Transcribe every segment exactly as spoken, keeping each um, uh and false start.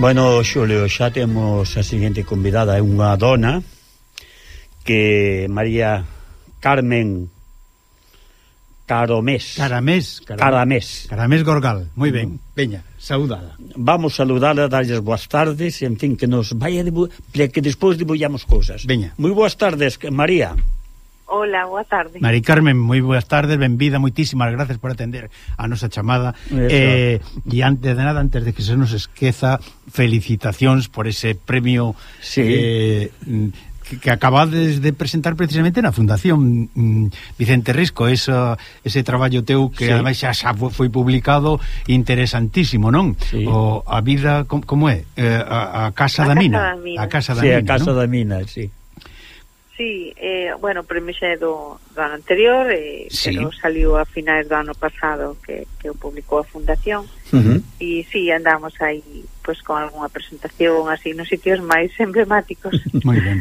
Bueno, Xulio, xa temos a seguinte convidada, é unha dona que María Carmen Caramés. Caramés. Caramés. Caramés Gorgal. Moi ben. Veña, saudada. Vamos saudala, darlles boas tardes, en fin, que nos vaya debu... que despois debullamos cousas. Veña. Moi boas tardes, María. Hola, boa tarde. Mari Carmen, moi boas tardes, benvida, moitísimas gracias por atender a nosa chamada. Eh, e antes de nada, antes de que se nos esqueza, felicitacións por ese premio sí. eh, que, que acabades de presentar precisamente na Fundación mm, Vicente Risco, esa, ese traballo teu que sí. ademais xa, xa foi publicado, interesantísimo, non? Sí. O a vida, como, como é? Eh, a, a Casa a da Mina. Casa da Mina. A Casa da sí, Mina, a Casa ¿no? da Mina, sí. Sí, eh, bueno, o premio xa é do, do ano anterior, eh, sí. pero saliu a finais do ano pasado que, que o publicou a Fundación. Uh-huh. E sí, andamos aí pues, con algunha presentación así nos sitios máis emblemáticos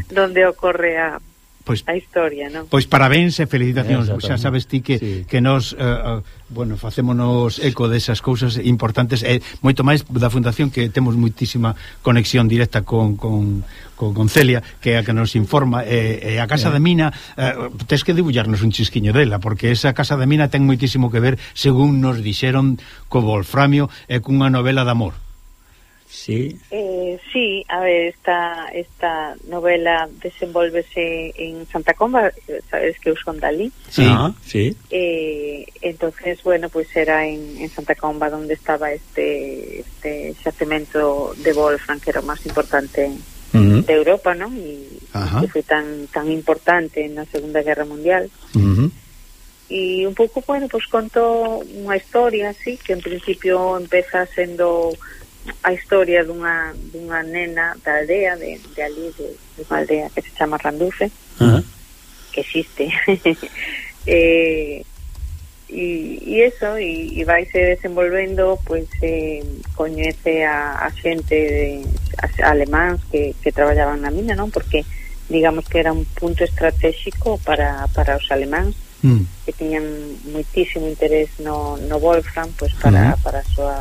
donde ocorre a, pues, a historia, non? Pois parabéns e felicitacións, xa sabes ti que, sí. que nos uh, uh, bueno, facémonos eco desas cousas importantes e moito máis da Fundación, que temos moitísima conexión directa con, con, con, con Celia, que é a que nos informa, e, e a Casa yeah. da Mina uh, tes que debullarnos un chisquiño dela, porque esa Casa da Mina ten moitísimo que ver, según nos dixeron, co Wolframio e cunha novela de amor. Sí. Eh, sí, a ver, esta esta novela desenvolvese en Santa Comba, sabes que eu son dali. Sí, ah, sí. Eh, entonces, bueno, pues era en, en Santa Comba donde estaba este este xacemento de Wolfram, que era o máis importante uh-huh. de Europa, ¿no? E que foi tan tan importante na Segunda Guerra Mundial. Uh-huh. E un pouco, bueno, pues conto unha historia así, que en principio empeza sendo a historia dunha, dunha nena da aldea de, de ali, de, de unha aldea que se chama Randufe, uh-huh. que existe. eh, e, e eso, e, e vaise desenvolvendo, pues eh, coñece a, a xente de, a, alemáns que, que traballaban na mina, non? Porque digamos que era un punto estratégico para, para os alemáns, mm. que tiñan moitísimo interés no, no Wolfram, pues para, uh-huh. para a súa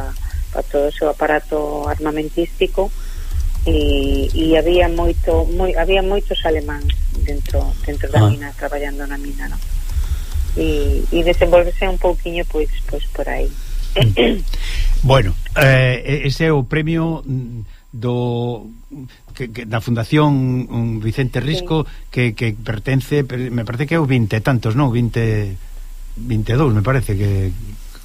para todo o seu aparato armamentístico, e, e había moito moi, había moitos alemáns dentro dentro da ah. mina, traballando na mina, non? E, e desenvolvese un pouquiño pois pois por aí. Bueno, eh, ese é o premio do que, que da Fundación Vicente Risco, sí. que, que pertence, me parece que é o vinte e tantos, non? vinte, vinte e dous, me parece que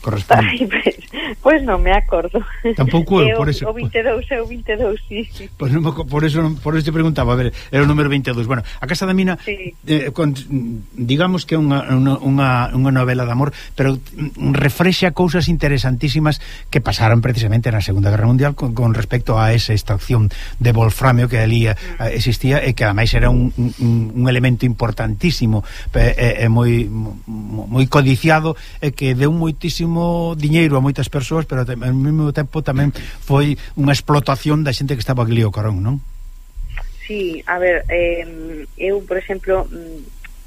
corresponde. Ay, pues, pues non me acordo. Tampouco, eu, por eso. O vinte e dous é o vinte e dous, sí. Pues non, por eso por eso te preguntaba, a ver, era o número vinte e dous. Bueno, a Casa da Mina, sí. eh, con, digamos que é unha, unha, unha novela de amor, pero refrexa cousas interesantísimas que pasaron precisamente na Segunda Guerra Mundial con, con respecto a esa extracción de wolframio que ali mm. existía, e que ademais era un, un, un elemento importantísimo e, e moi moi codiciado, e que deu moitísimo diñeiro a moitas persoas, pero ao mesmo tempo tamén foi unha explotación da xente que estaba ali ao carón, non? Sí, a ver, eh, eu, por exemplo,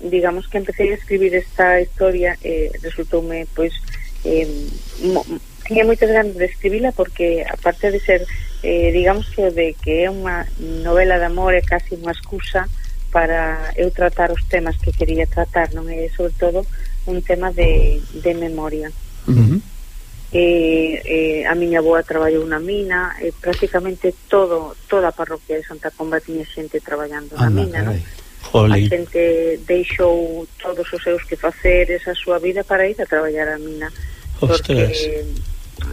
digamos que empecé a escribir esta historia, eh, resultoume, pois, eh, mo, tiña moitas ganas de escribila, porque aparte de ser, eh, digamos que de que é unha novela de amor, é casi unha excusa para eu tratar os temas que quería tratar, non é, sobre todo, un tema de, de memoria. Uh-huh. eh, eh, a miña avoa traballou na mina, eh, prácticamente todo toda a parroquia de Santa Comba tiña xente traballando na Anda, mina, non? A xente deixou todos os seus quefaceres, a súa vida, para ir a traballar a mina. Porque,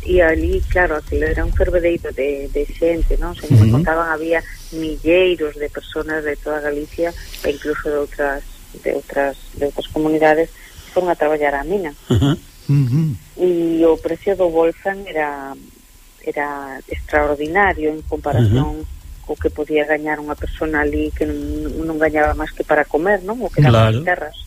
e ali, claro, aquilo era un fervedeiro de, de xente, non? Se uh-huh. me contaban, había milleiros de personas de toda Galicia, e incluso de outras de outras de outras comunidades que foron a traballar a mina. Uh-huh. Uh-huh. E o precio do Wolfram era era extraordinario en comparación uh-huh. co que podía gañar unha persona ali que non, non gañaba máis que para comer, non? O que daban claro. As terras.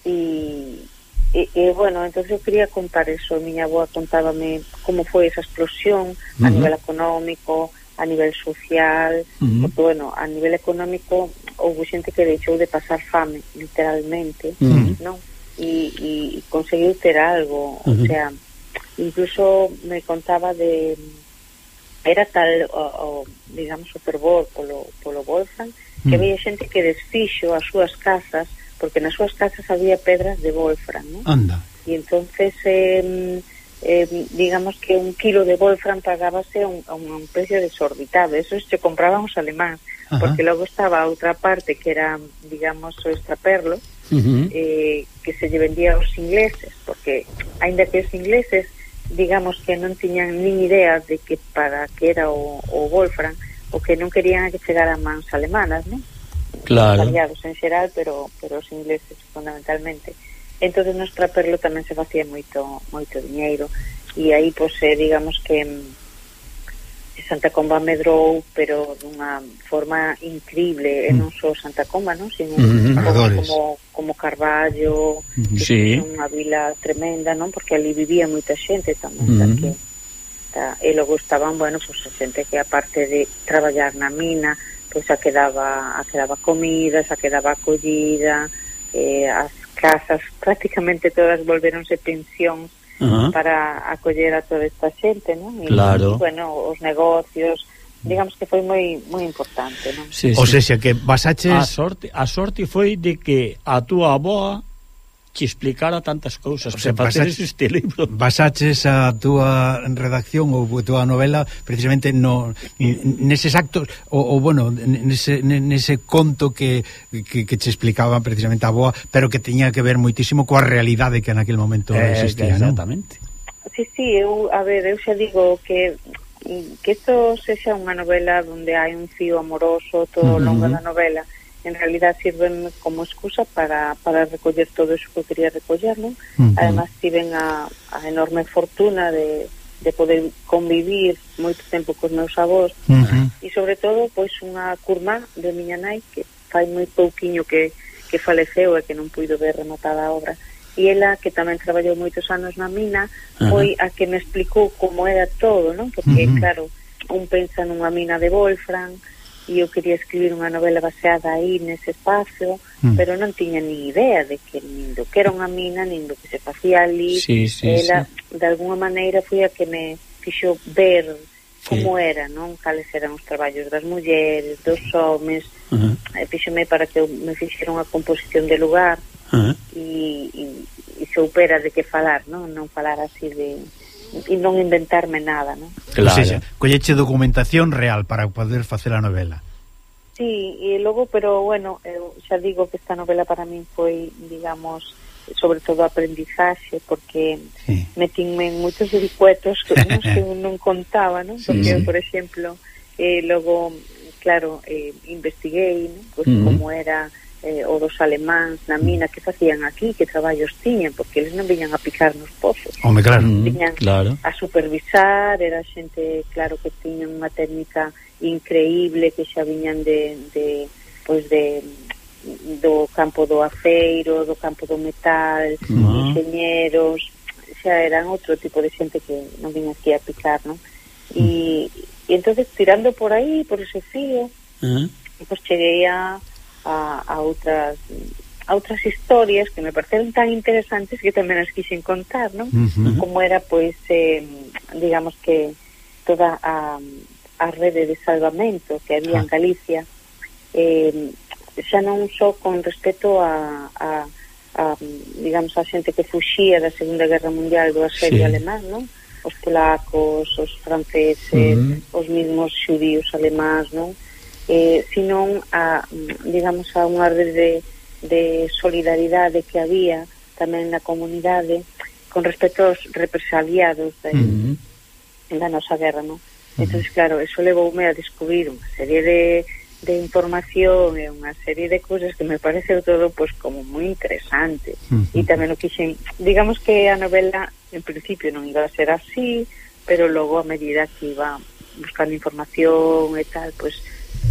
E, e, e, bueno, entonces eu quería contar eso. A miña avoa contábame como foi esa explosión uh-huh. a nivel económico, a nivel social, uh-huh. porque, bueno, a nivel económico houve xente que deixou de pasar fame, literalmente, uh-huh. non? E, e conseguiu ter algo, uh-huh. o sea, incluso me contaba de era tal o, o digamos o fervor polo, polo Wolfram que había xente que desfixo as súas casas porque nas súas casas había pedras de Wolfram, ¿no? Anda. E entonces eh, eh, digamos que un kilo de Wolfram pagábase a un, a un precio desorbitado. Eso se compraban os alemáns. Ajá. Porque logo estaba a outra parte que era, digamos, o extraperlo, uh-huh. eh, que se lle vendía aos ingleses, porque aínda que os ingleses digamos que non tiñan nin idea de que para que era o, o Wolfram, o que non querían que chegara a mans alemanas, non? Claro. Aliados en xeral, pero, pero os ingleses fundamentalmente. Entonces no extraperlo tamén se facía moito moito diñeiro, e aí, pois, eh, digamos que Santa Comba medrou, pero dunha forma increíble, e non só Santa Comba, non? Sino uh-huh. como, como Carballo, uh-huh. que sí. é unha vila tremenda, non? Porque ali vivía moita xente tamén, uh-huh. que, ta, e logo estaban, bueno, pues, a xente que aparte de traballar na mina, pois pues, a quedaba, a quedaba comida, a quedaba acollida, eh, as casas prácticamente todas volveronse pensións, uh-huh. para acoller a toda esta xente, non? E, claro. E, bueno, os negocios, digamos que foi moi moi importante, non? Sí, sí. O sea, que basaches... A sorte, a sorte foi de que a túa aboa que explicara tantas cousas, o sea, para facer este libro. Basaches a túa redacción ou a túa novela precisamente no neses actos ou, ou bueno, nese, nese conto que, que, que che explicaba precisamente a aboa, pero que tiña que ver moitísimo coa realidade que naquele momento eh, existía, exactamente. Non? Sí, sí, eu, a ver, eu xa digo que que isto sexa unha novela onde hai un fío amoroso todo uh-huh. longo da novela, en realidad sirven como excusa para, para recoller todo eso que quería recoller, ¿no? Uh-huh. Además tiven a, a enorme fortuna de, de poder convivir moito tempo cos meus avós, uh-huh. e sobre todo pois unha curmá de miña nai que fai moi pouquiño que, que faleceu e que non puido ver rematada a obra, e ela que tamén traballou moitos anos na mina, uh-huh. foi a que me explicou como era todo, ¿no? Porque uh-huh. claro, un pensa nunha mina de Wolfram e eu quería escribir unha novela baseada aí nese espacio, mm. pero non tiña ni idea de que nin do que era unha mina, nin do que se facía ali. Sí, sí, ela, sí. de alguna maneira, foi a que me fixo ver como sí. era, non? Cales eran os traballos das mulleres, dos homens, uh-huh. e fíxome para que eu me fixera unha composición de lugar, uh-huh. e, e, e soupera de que falar, non? Non falar así de... e non inventarme nada, non? Claro. O sea, colleche documentación real para poder facer a novela. Sí, e logo, pero bueno, eu xa digo que esta novela para min foi, digamos, sobre todo aprendizaxe, porque sí. metinme en moitos vericuetos que non, que non contaba, non? Porque, sí, sí. por exemplo, eh, logo, claro, eh, investiguei, non? Pues, uh-huh. como era eh, o dos alemáns na mina, que facían aquí, que traballos tiñan, porque eles non viñan a picar nos pozos. Home, claro. Viñan claro. a supervisar, era xente, claro, que tiñan unha técnica increíble, que xa viñan de, de pois de do campo do aceiro, do campo do metal, uh-huh. enxeñeros, xa eran outro tipo de xente que non viñan aquí a picar, non? E, uh-huh. e entonces, tirando por aí, por ese fío, uh-huh. pois cheguei a A, a outras a outras historias que me pareceron tan interesantes que tamén as quixen contar, non? Uh-huh. Como era, pois, eh, digamos que toda a, a rede de salvamento que había ah. en Galicia, eh, xa non só con respecto a, a, a digamos, a xente que fuxía da Segunda Guerra Mundial do asedio sí. alemán, non? Os polacos, os franceses, uh-huh. os mismos xudíos alemáns, non? Eh, sino a, digamos, a unha rede de, de solidaridade que había tamén na comunidade con respecto aos represaliados da, uh-huh. da nosa guerra, non? Uh-huh. Entón, claro, eso levoume a descubrir unha serie de, de información e unha serie de cousas que me pareceu todo, pois, como moi interesante. Uh-huh. E tamén o quixen, digamos que a novela en principio non iba a ser así, pero logo a medida que iba buscando información e tal, pois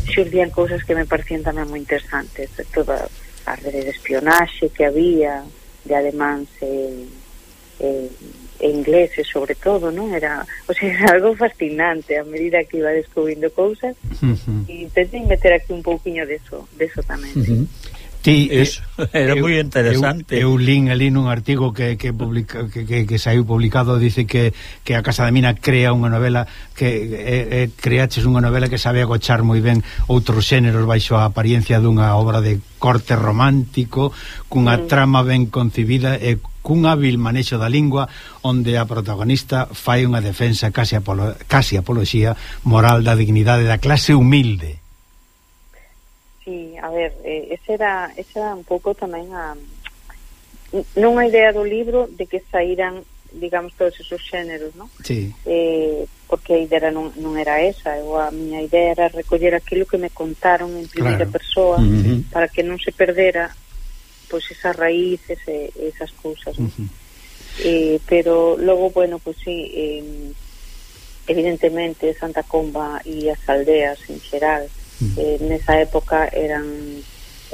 xurdían cousas que me parecían tamén moi interesantes, de toda a rede de espionaxe que había de alemáns e, e, e ingleses sobre todo, non? Era, o sea, era algo fascinante a medida que iba descubrindo cousas. Uh-huh. E intentei meter aquí un pouquiño deso, deso tamén, uh-huh. sí. Ti, eso, era eu, moi interesante. Eu, eu lín ali nun artigo que que, publica, que, que, que saiu publicado, dice que, que a Casa da Mina crea unha novela que eh, eh, creaches unha novela que sabe agochar moi ben outros xéneros baixo a apariencia dunha obra de corte romántico, cunha mm. trama ben concibida e cun hábil manexo da lingua onde a protagonista fai unha defensa casi, apolo, casi apoloxía moral da dignidade da clase humilde. Sí, a ver, eh, ese era, ese era un pouco tamén a non a idea do libro de que saíran, digamos, todos esos xéneros, non? Sí. Eh, porque a idea non, non era esa, eu, a miña idea era recoller aquilo que me contaron en primeira claro. persoa, uh-huh. para que non se perdera pois pues, esas raíces e esas cousas, non? Uh-huh. Eh, pero logo, bueno, pois pues, sí, eh, evidentemente Santa Comba e as aldeas en xeral, Eh, nesa época eran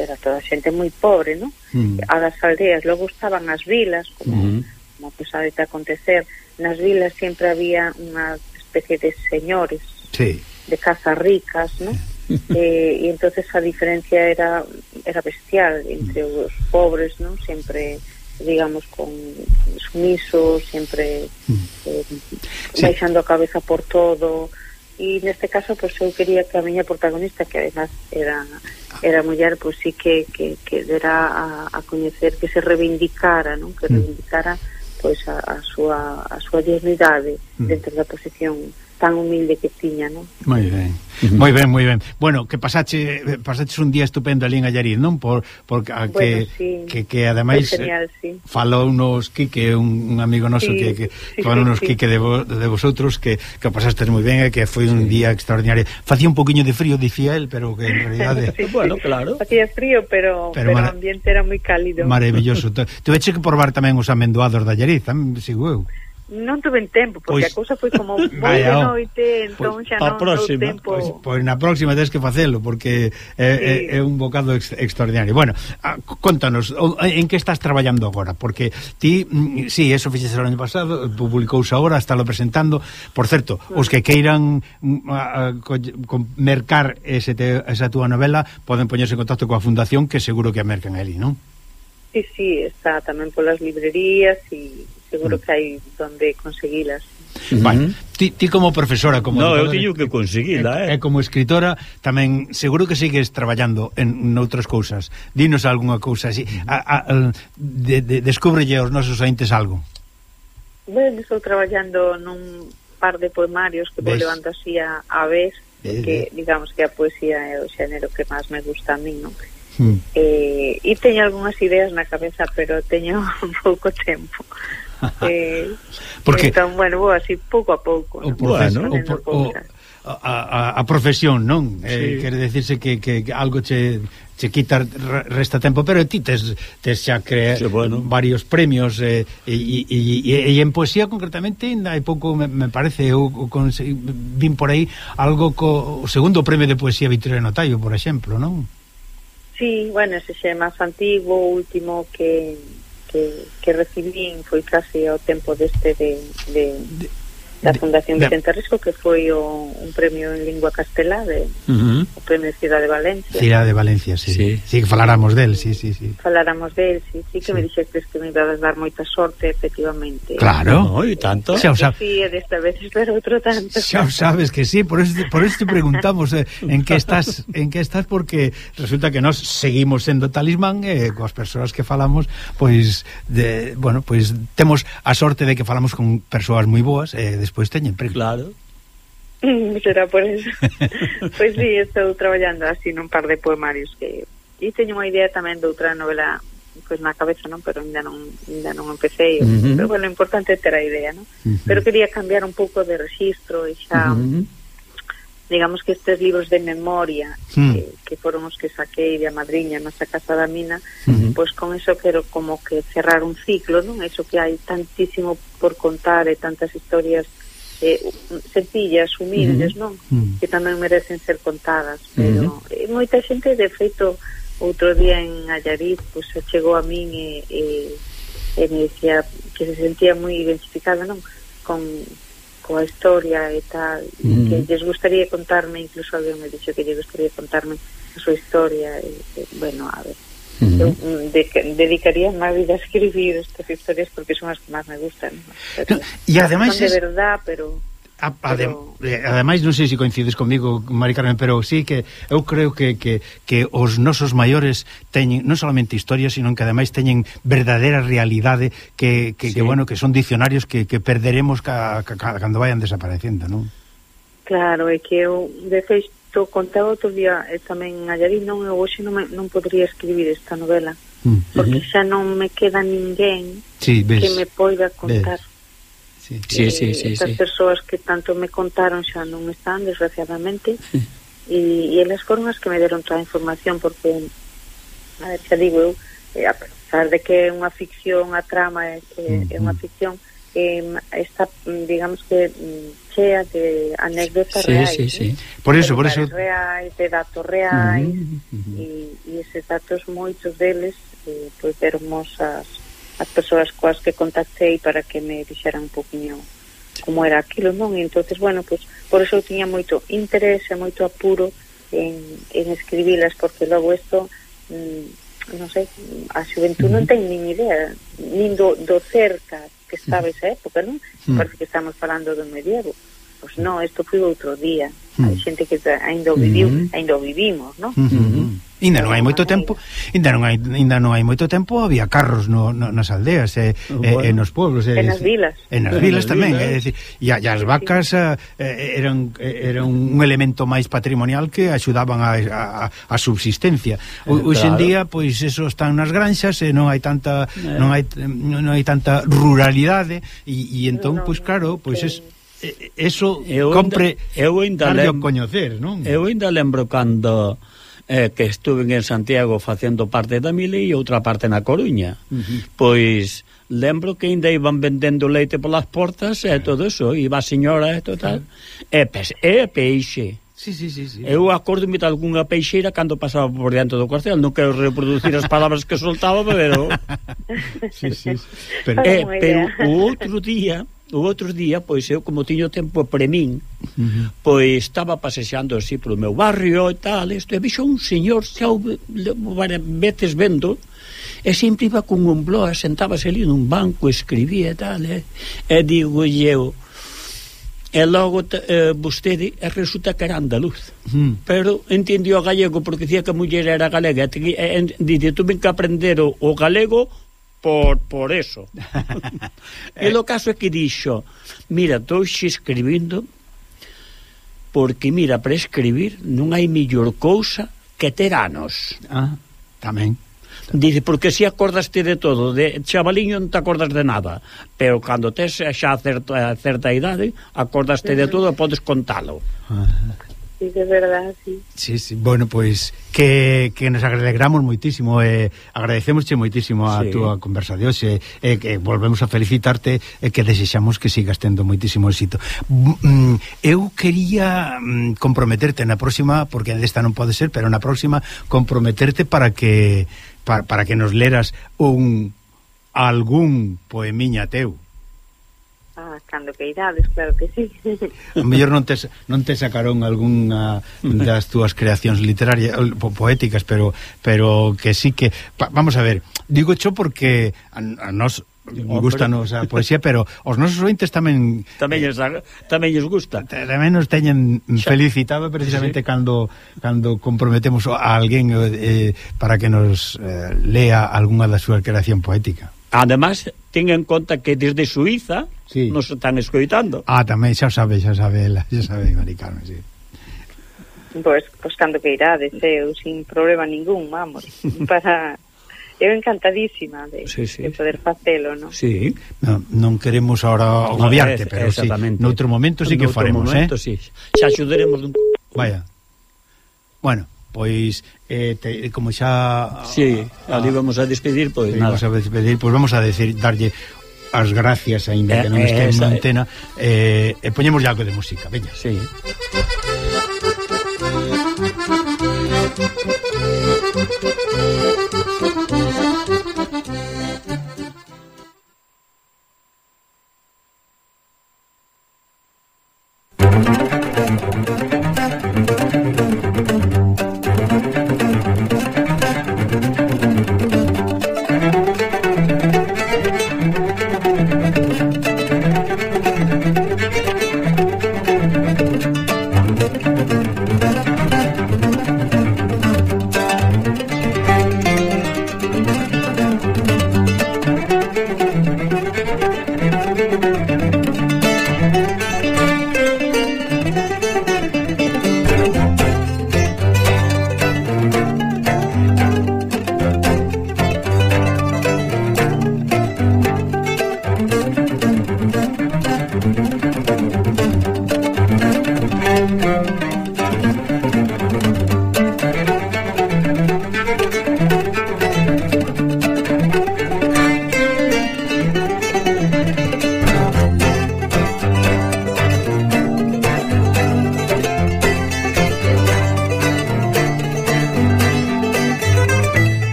era toda xente moi pobre, ¿no? Mm. A das aldeas, logo estaban as vilas, como, mm. como pues, sabe te acontecer, nas vilas sempre había unha especie de señores, sí. de casas ricas, ¿no? eh, e entonces a diferencia era era bestial entre mm. os pobres, ¿no? Sempre, digamos, con sumisos, sempre mm. eh, sí. baixando a cabeza por todo. E neste caso, pois, eu quería que a miña protagonista, que además era era muller, pois sí que, que, que dera a, a coñecer, que se reivindicara, non? Que reivindicara pois a, a súa a súa dignidade mm. dentro da posición tan humilde que tiña, non? Moi ben. Uh-huh. Moi ben, moi ben. Bueno, que pasache pasaches un día estupendo ali en Allariz, non? Por porque a, bueno, que, sí. que que ademais genial, sí. falou nos Quique, un, un amigo noso sí, que que sí, falou nos sí, Quique de, vo, de vosotros que que pasastes moi ben e que foi un sí. día extraordinario. Facía un poquinho de frío, dicía él, pero que en realidade sí, bueno, claro. Facía frío, pero pero, pero o ambiente era moi cálido. Maravilloso. Tuveche que probar tamén os amendoados de Allariz, tamén sigo eu. Non tuve tempo, porque pois, a cousa foi como moi de noite, entón xa non tuve tempo. Pois, pois na próxima tens que facelo, porque é, sí. é, é un bocado ex, extraordinario. Bueno, a, contanos, en que estás traballando agora? Porque ti, sí, eso fixes o ano pasado, publicouse agora, estálo presentando. Por certo, os que queiran a, a, a, mercar ese te, esa túa novela, poden poñerse en contacto coa fundación, que seguro que a mercan ali, non? Sí, sí, está tamén polas librerías e seguro que hai donde conseguilas. Uh-huh. Vale. Ti, ti como profesora, como no, eu teño que conseguila, eh. E como escritora tamén seguro que sigues traballando en noutras cousas. Dinos algunha cousa así. A, a, a, de, de, descúbrelle aos nosos ointes algo. Ben, estou traballando nun par de poemarios que vou levando así a, a vez, porque digamos que a poesía é o xénero que máis me gusta a mí, non? Hmm. Eh, e teño algunhas ideas na cabeza, pero teño pouco tempo. eh, Porque entón, bueno, vou así pouco a pouco, o, bueno, o, por, o a, a, a profesión, non? Sí. Eh, quere decirse que, que algo che, che quita resta tempo, pero ti tes, tes xa crea sí, bueno. varios premios e, e, e, e en poesía concretamente hai pouco me, me parece eu vin por aí algo co o segundo premio de poesía Victoriano Notaio, por exemplo, non? Sí, bueno, ese xe é máis antigo, o último que, que, que recibín foi casi ao tempo deste de, de, de da Fundación de, Vicente Risco, que foi o, un premio en lingua castelá de, uh-huh. o premio de Cidade de Valencia. Cidade de Valencia, sí. Sí, sí que faláramos del, sí, sí, sí. Faláramos del, sí, sí que sí. Me dixestes que me iba a dar moita sorte, efectivamente. Claro. No, e tanto. Xa o sabes. Sí, desta vez espero outro tanto. Xa o sabes que sí, por eso, por eso te preguntamos eh, en que estás, en que estás, porque resulta que nós seguimos sendo talismán e eh, coas persoas que falamos, pois, de, bueno, pois temos a sorte de que falamos con persoas moi boas e eh, pois teñen premio. Claro. Será por eso. Pois sí, estou traballando así nun par de poemarios que e teño unha idea tamén de outra novela pois na cabeza, non, pero ainda non ainda non empecé, uh-huh. pero bueno, o importante é ter a idea, non? Uh-huh. Pero quería cambiar un pouco de registro e xa uh-huh. digamos que estes libros de memoria uh-huh. que, que foron os que saquei de a madriña nasa Casa da Mina, uh-huh. pois con eso quero como que cerrar un ciclo, non? Eso que hai tantísimo por contar e tantas historias eh, sencillas, humildes, non? Mm. Que tamén merecen ser contadas, pero mm-hmm. eh, moita xente, de feito, outro día en Allariz, pues, chegou a min e, e, e me decía que se sentía moi identificada, non? Con coa historia e tal, mm. que lles gustaría contarme, incluso alguén me dixo que lles gustaría contarme a súa historia, e, e bueno, a ver, Uh-huh. Eu de, dedicaría má vida a escribir estas historias porque son as que máis me gustan, ¿no? Pero, no, e ademais son de es... verdad, pero... A, adem, pero... ademais non sei se coincides comigo, Mari Carmen, pero sí que eu creo que, que, que os nosos maiores teñen non solamente historias, sino que ademais teñen verdadeira realidade que, que, sí. que bueno, que son dicionarios que, que perderemos ca, ca, ca, cando vayan desaparecendo, non? Claro, é que eu de feito contaba outro día eh, tamén a Llarín, non, eu hoxe non, me, non podría escribir esta novela mm. porque uh-huh. xa non me queda ninguén sí, que me poida contar. Sí, sí, sí, sí, estas sí. persoas que tanto me contaron xa non están, desgraciadamente, e, e elas foron as que me deron toda a información, porque a ver, xa digo eu, eh, a pesar de que é unha ficción, a trama é, é, uh-huh. é unha ficción, eh, está, digamos que chea de anécdotas sí, reais, sí, sí. Por eso, por eso reais, de datos reais, uh-huh, uh-huh. e, e eses datos moitos deles eh, pois dermos as, as persoas coas que contactei para que me dixeran un poquinho como era aquilo, non? E entonces, bueno, pues, por eso eu tiña moito interés e moito apuro en, en escribilas, porque logo isto mm, non sei, a xuventud uh-huh. non ten nin idea nin do, do cerca que estaba esa época, non? Mm. Parece que estamos falando do medievo. Pois non, isto foi outro día. Mm. Hai xente que ainda o viviu, mm. ainda o vivimos, non? Mm-hmm. Ainda non hai moito tempo, ainda non hai ainda non hai moito tempo había carros no, no, nas aldeas e, bueno. e, e nos pueblos, e nas vilas. En as vilas tamén, é dicir, e as vacas eh, eran eran un elemento máis patrimonial que axudaban a, a, a subsistencia. O, claro. Hoxe en día, pois eso están nas granxas e non hai tanta eh. non hai non hai tanta ruralidade e, e entón, no, pois claro, pois es eso eu compre eu ainda lembro coñecer, non? Eu ainda lembro cando eh, que estuve en Santiago facendo parte da Mili e outra parte na Coruña. Uh-huh. Pois lembro que ainda iban vendendo leite polas portas e todo eso, iba a señora e total. Uh-huh. E, pe e peixe. Sí, sí, sí, sí. Eu acordome de algunha peixeira cando pasaba por diante do cuartel, non quero reproducir as palabras que soltaba, pero sí, sí, sí. Pero, eh, pero o outro día o outro día, pois eu como tiño tempo pre min, uh-huh. pois estaba pasexando así polo meu barrio e tal, isto, e vixo un señor xa varias veces vendo, e sempre iba con un blog, sentábase ali nun banco, escribía e tal, e, e digo eu, e logo eh, vostede resulta que era andaluz, uh-huh. pero entendió o gallego porque dicía que a muller era galega, e, e, dice, tuve que aprender o, o galego por, por eso. E o caso é que dixo, mira, estou xe escribindo porque, mira, para escribir non hai mellor cousa que ter anos. Ah, tamén. Dice, porque si acordaste de todo, de chavaliño non te acordas de nada, pero cando tes xa certa, certa idade, acordaste de todo e podes contalo. Ah. Sí, de verdad, sí. Sí, sí. Bueno, pois pues, que, que nos alegramos moitísimo e eh, agradecemosche moitísimo a sí. túa conversa de hoxe e eh, que volvemos a felicitarte e eh, que desexamos que sigas tendo moitísimo éxito. Mm, eu quería mm, comprometerte na próxima, porque desta non pode ser, pero na próxima comprometerte para que para, para que nos leras un algún poemiña teu. Ah, cando que irades, claro que sí. A mellor non te, non te sacaron algunha das túas creacións literarias, po, poéticas, pero pero que sí que... Pa, vamos a ver, digo cho porque a, a nos gustanos a poesía, pero os nosos ointes tamén... Tamén lles, tamén lles gusta. Tamén nos teñen felicitado precisamente sí. cando cando comprometemos a alguén eh, para que nos eh, lea algunha da súa creación poética. Además, ten en conta que desde Suiza sí. nos están escoitando. Ah, tamén, xa sabe, xa sabe ela, xa sabe, Mari Carmen, sí. Pois, pois cando que irades, eu sin problema ningún, vamos, para... Eu encantadísima de, sí, sí. de poder facelo, non? Sí. No, non queremos ahora agobiarte, no, pero sí, noutro momento sí que faremos, momento, eh? Sí. Xa axudaremos dun... Vaya. Bueno, pois eh, te, como xa sí, ali vamos a despedir, pois nada. Vamos a despedir, pois vamos a decir darlle as gracias aínda eh, que non este en antena eh, e poñemos algo de música, veña. Sí.